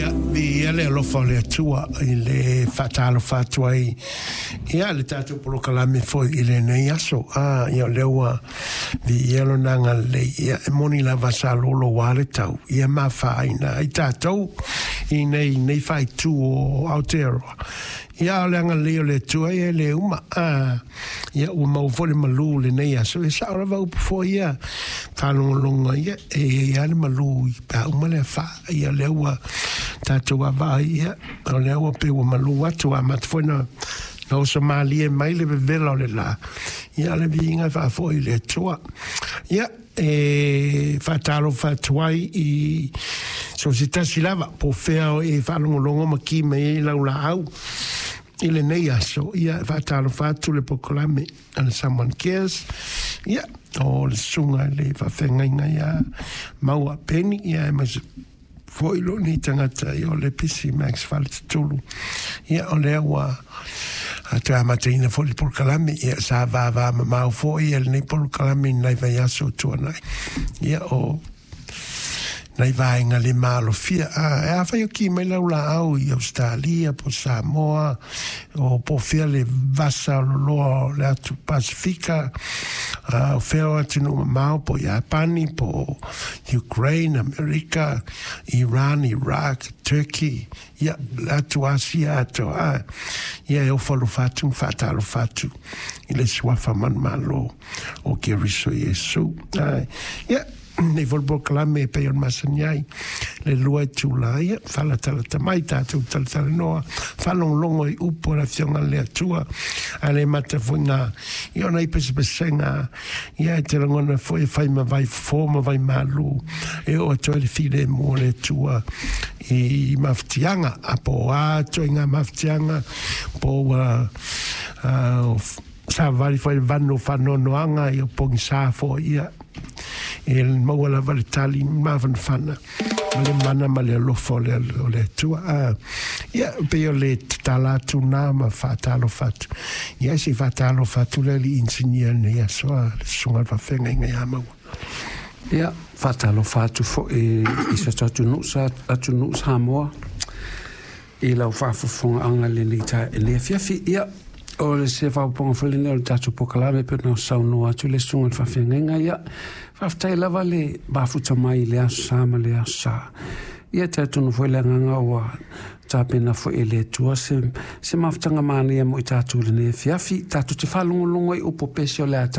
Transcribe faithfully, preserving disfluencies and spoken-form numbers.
Ia, viia le alofa o le Atua i le faatalofa atu ai ia le tatou polokalame foi i lenei aso. Ah, ia o lea ua viia lona agalelei. Ia, e moni lava sa loloa le tau ia mafaina ai tatou i nei, nei faaitu o Aotearoa. Ia, o le agalelei o le Atua ia e le uma. Ah, ia ua maua foi le malu i lenei aso. E sao lava upu foi ia faalogologo ia e i ai lava le malu i pe a uma le afa. Ia lea ua tatou vaavaai, ia o lea ua pei ua malu atu, amata foi na na oso malie mai le vevela o le la. Ia o le viiga e faafoi i le Atua. Ia e faatalofa atu ai i so o se tasi lava po o fea e faalogologo ma ki mai ai lau laau i lenei aso. Ia e faatalofa atu le polokalame a le Someone Cares. Ia o le susuga i le faafeagaiga ia Maua Peni, ia aemaise foi lou nei tagata, ia o le Pisi Max Faletetulu. Ia o lea ua toe amataina foi le polokalame. Ia sa vavamamao foi ia lenei polokalame i nai vaiaso o tuanai. Ia o nai vaega le malofia. A, e afai o ki mai lau laau i Australia po Samoa o po o fea le vasa o loloa o le atu Pasifika, a, o fea o atunuu mamao po o Iapani po o Ukraine, Amerika, Iran, Iraq, Turkey, ia le atu Asia atoa, a, ia e ofo alofa atu ma faatalofa atu i le suafa manumalo o Keriso Iesu. A, ia nei foi le polokalame e pei ona masani ai le lua itula, ia faalatalata mai tatou talatalanoa, faalogologo i upu a le Afioga a le Atua, ae le mata foi ngā ia ona i pesepesega, ia e te lagona foi e fai ma vai fofo ma vai malu e oo atu ai le filemu o le Atua i mafatiaga, a po o a ituaiga mafatiaga po ua savavali foi le vanu o faanoanoaga ia pogisa foi, ia e maua lava le tali mafanafana ma le mana ma le alofa o le, o le Atua. Ah, ia pei o le tatala atu nā ma faatalofa atu. Ia se i faatalofa atu le alii inisinia lenei aso, a le susuga i le faafeagaiga ia Maua. Ia, faatalofa atu foi i so tatou atunuu sa atunuu Samoa i lau faafofogaaga i lenei taeao i lenei afiafi. Ia, o le se faaopoopoga foi lenei o le tatou polokalame pei ona saunoa atu le susuga i le faafeagaiga. Ia, faafetai lava le mafuta mai i le aso Sa ma le aso Sa. Ia, talitonu foi le agaga ua tapena foi e le Atua se, se mafutaga manaia mo i tatou i lenei afiafi. Tatou te faalogologo i upu pese o le a